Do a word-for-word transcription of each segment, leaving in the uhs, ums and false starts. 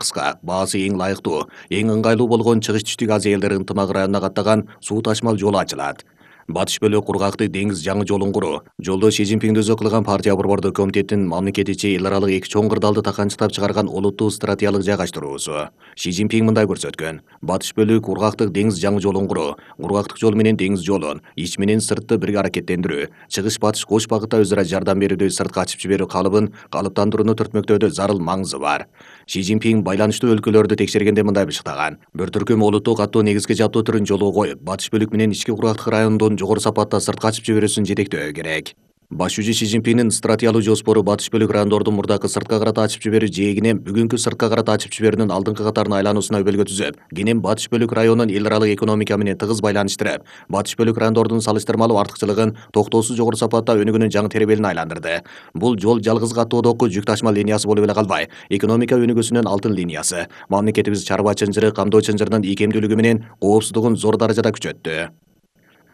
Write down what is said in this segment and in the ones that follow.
кыска, баасы эң ылайыктуу, эң ыңгайлуу болгон Чыгыш Түштүк Азия элдери ынтымак районуна каттаган суу ташмал жолу ачылат. Батыш бөлүк кургактык деңиз жаңы жолун куруу. Жолдо Си Цзиньпин өзү кылган партия борбордук комитеттин мамлекет ичи эл аралык эки чоң кырдаалды таканчыктап чыгарган олуттуу стратегиялык жайгаштыруусу. Си Цзиньпин мындай көрсөткөн: батыш бөлүк кургактык деңиз жаңы жолун куруу, кургактык жол менен деңиз жолун ич менен сыртты бирге аракеттендирүү, чыгыш батыш кош багытта өзара жардам берүүдө сыртка ачып жиберүү калыбын калыптандырууну түртмөктөөдө зарыл маңызы бар. Си Цзиньпин байланыштуу өлкөлөрдү текшергенде мындай бышыктаган: бир түркүм олуттуу каттоо негизги жабдуу түрүн жолго коюп, батыш бөлүк менен ички кургактык райондун жогору сапатта сыртка ачып жиберүүсүн жетектөө керек. Баш жүзү Си Цзиньпиндин стратегиялык жоспору батыш бөлүк райондордун мурдакы сыртка карата ачып жиберүү жээгинен бүгүнкү сыртка карата ачып жиберүүнүн алдыңкы катарына айлануусуна өбөлгө түзөп, кенен батыш бөлүк районун эл аралык экономика менен тыгыз байланыштырып, батыш бөлүк райондордун салыштырмалуу артыкчылыгын токтоосуз жогору сапатта өнүгүүнүн жаңы теребелине айландырды. Бул жол жалгыз каттоодогу жүк ташма линиясы болуп эле калбай, экономика өнүгүүсүнүн алтын линиясы, мамлекетибиз чарба чынжыры, камдоо чынжырынын ийкемдүүлүгү менен коопсуздугун зор даражада күчөттү.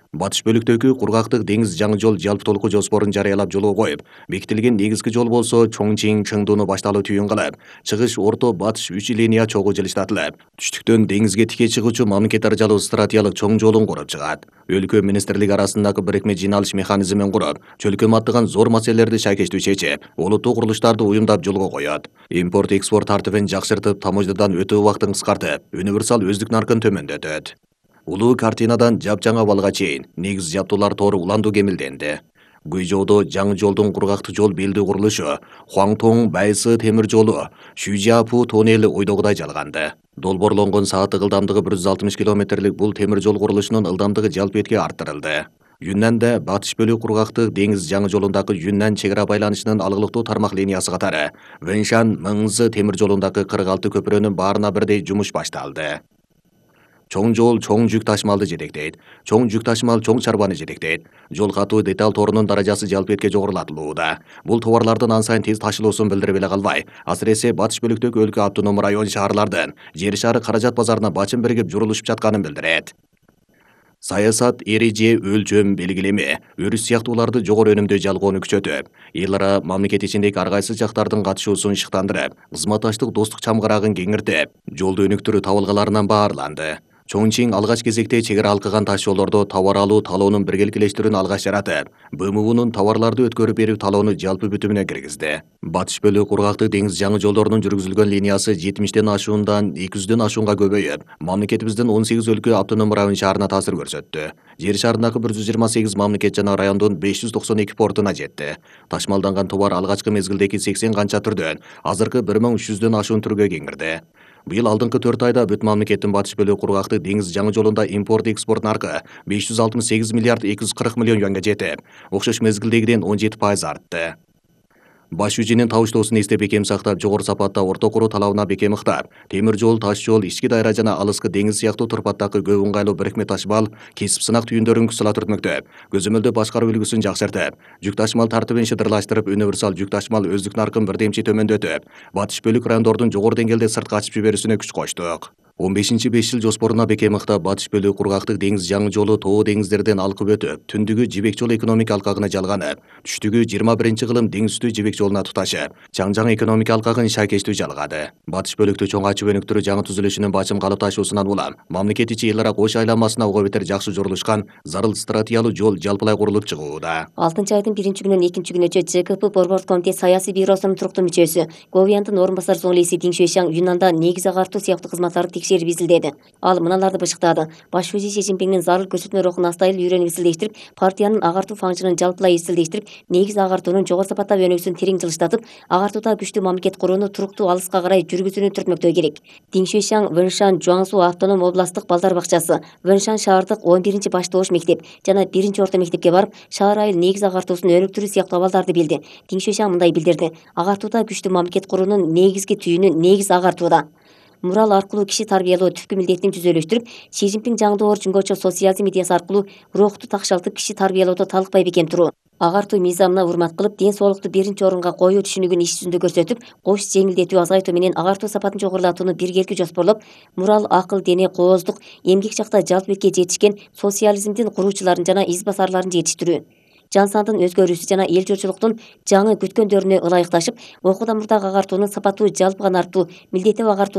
Батыш бөлүктөгү кургактык деңиз жаңы жол жалпы толуку жоспорун жарыялап жолго коюп, бекитилген негизги жол болсо Чоңчиң Чыңдууну башталуу түйүн кылып, чыгыш орто батыш үч линия чогуу жылыштатылып, түштүктөн деңизге тике чыгуучу мамлекет даражалуу стратегиялык чоң жолун куруп чыгат. Өлкө министрлик арасындагы бирикме жыйналыш механизмин куруп, чөлкөм аттаган зор маселелерди шайкештүү чечип, олуттуу курулуштарды уюмдап жолго коет. Импорт экспорт тартибин жакшыртып, таможнядан өтүү убактын кыскартып, универсал өздүк наркын төмөндөтөт. Улуу картинадан жапжаңа балга чейин негиз жабдуулар тору уландуу кемилденди. Гуйжоодо жаңы жолдун кургактык жол белдүү курулушу, Хуаңтоң Байсы темир жолу, Шүжиапу тоннели ойдогудай жалганды. Долбоорлонгон сааттык ылдамдыгы бир жүз алтымыш километрлик бул темир жол курулушунун ылдамдыгы жалпы этке арттырылды. Юннанда батыш бөлүк кургактык деңиз жаңы жолундагы Юннан чек ара байланышынын алгылыктуу тармак линиясы катары Вэншан Мыңзы темир жолундагы кырк алты көпүрөнүн баарына бирдей жумуш башталды. Чоң жол чоң жүк ташмалды жетектейт. Чоң жүк ташмал чоң чарбаны жетектейт. Жол катуу деталь торунун даражасы жалпы этке жогорулатылууда. Бул товарлардын ан сайын тез ташылуусун билдирип эле калбай, асыресе батыш бөлүктөгү өлкө автоном район шаарлардын жер шары каражат базарына бачын биригип журулушуп жатканын билдирет. Саясат, эреже, өлчөм, белгилеме, өрүс сыяктууларды жогору өнүмдүү жалгоону күчөтүп, эл ара мамлекет ичиндеги ар кайсы жактардын катышуусун ышыктандырып, кызматташтык достук чамгарагын кеңиртип, жолду өнүктүрүү табылгаларынан баарланды. Чоңчиң алгач кезекте чек ара алкаган таш жолдордо товар алуу талоонун биргеликилештирүүнү алгач жаратып, Бэ Эм Унун товарларды өткөрүп берүү талоону жалпы бүтүмүнө киргизди. Батыш бөлүк кургактык деңиз жаңы жолдорунун жүргүзүлгөн линиясы жетимиштен ашуундан эки жүздөн ашуунга көбөйүп, мамлекетибиздин он сегиз өлкө автоном район шаарына таасир көрсөттү. Жер шарындагы бир жүз жыйырма сегиз мамлекет жана райондун беш жүз токсон эки портуна жетти. Ташмалданган товар алгачкы мезгилдеги сексен канча түрдөн азыркы бир миң үч жүздөн ашуун түргө кеңирди. Быйыл алдыңкы төрт айда бүт мамлекеттин батыш бөлүк кургактык деңиз жаңы жолунда импорт экспорт наркы беш жүз алтымыш сегиз миллиард эки жүз кырк миллион юанга жетип, окшош мезгилдегиден он жети пайыз артты. Баш жүзүнүн табыштоосун эстеп бекем сактап, жогору сапатта орто куруу талабына бекем ыктап, темир жол, таш жол, ички дайра жана алыскы деңиз сыяктуу турпаттагы көп ыңгайлуу бирикме ташмал, кесип сынак түйүндөрүн кысыла түртмөктөп, көзөмөлдөө башкаруу үлгүсүн жакшыртып, жүк ташмал тартибин шыдырлаштырып, универсал жүк ташмал өздүк наркын бирдемчи төмөндөтүп, батыш бөлүк райондордун жогору деңгээлде сыртка ачып жиберүүсүнө күч коштук. он бешинчи беш жыл жоспоруна бекем ыктап, батыш бөлүк кургактык деңиз жаңы жолу тоо деңиздерден алкып өтүп, түндүгү жибек жол экономика алкагына жалганып, түштүгү жыйырма биринчи кылым деңиз үстү жибек жолуна туташып, чаң жаңы экономика алкагын шайкештүү жалгады. Батыш бөлүктү чоң ачып өнүктүрүү жаңы түзүлүшүнүн бачым калыпташуусунан улам, мамлекет ичи эл ара кош айланмасына ого бетер жакшы жорулушкан зарыл стратегиялуу жол жалпылай курулуп чыгууда. алтынчы айдын биринчи күнүнөн экинчи күнүнчө Ж К П борбордук комитет саясий бюросунун туруктуу мүчөсү, Говияндын орун басар зоңлиси Диң Шуэшаң Юннанда негиз агартуу сыяктуу кызматтарды текшерип изилдеди. Ал мыналарды бышыктады: баш вазир Си Цзиньпиндин зарыл көрсөтмө рухун астайыл үйрөнүп изилдештирип, партиянын агартуу фаңжынын жалпылай изилдештирип, негиз агартуунун жогору сапаттагы өнүгүүсүн терең жылыштатып, агартууда күчтүү мамлекет курууну туруктуу алыска карай жүргүзүүнү түртмөктөө керек. Диң Шуэшаң Вэншан Жуаңсу автоном областтык балдар бакчасы, Вэншан шаардык он биринчи баштоош мектеп жана биринчи орто мектепке барып, шаар айыл негиз агартуусун өнүктүрүү сыяктуу абалдарды билди. Диң Шуэшаң мындай билдирди: агартууда күчтүү мамлекет куруунун негизги түйүнү негиз агартууда. Мурал аркылуу киши тарбиялоо түпкү милдетин түзөлүштүрүп, Си Цзиньпин жаңдоо жөнгөчө социализм идеясы аркылуу рухту такшалтып киши тарбиялоодо талыкпай бекем туруу, агартуу мыйзамына урмат кылып, ден соолукту биринчи орунга коюу түшүнүгүн иш жүзүндө көрсөтүп, кош жеңилдетүү азайтуу менен агартуу сапатын жогорулатууну биргеликти жоспорлоп, мурал акыл дене кооздук эмгек жакта жалпы бетке жетишкен социализмдин куруучуларын жана из басарларын жетиштирүү, жан сандын өзгөрүүсү жана эл журчулуктун жаңы күткөндөрүнө ылайыкташып, окуудан мурдагы агартуунун сапаттуу жалпыган арттуу, милдеттүү агартуу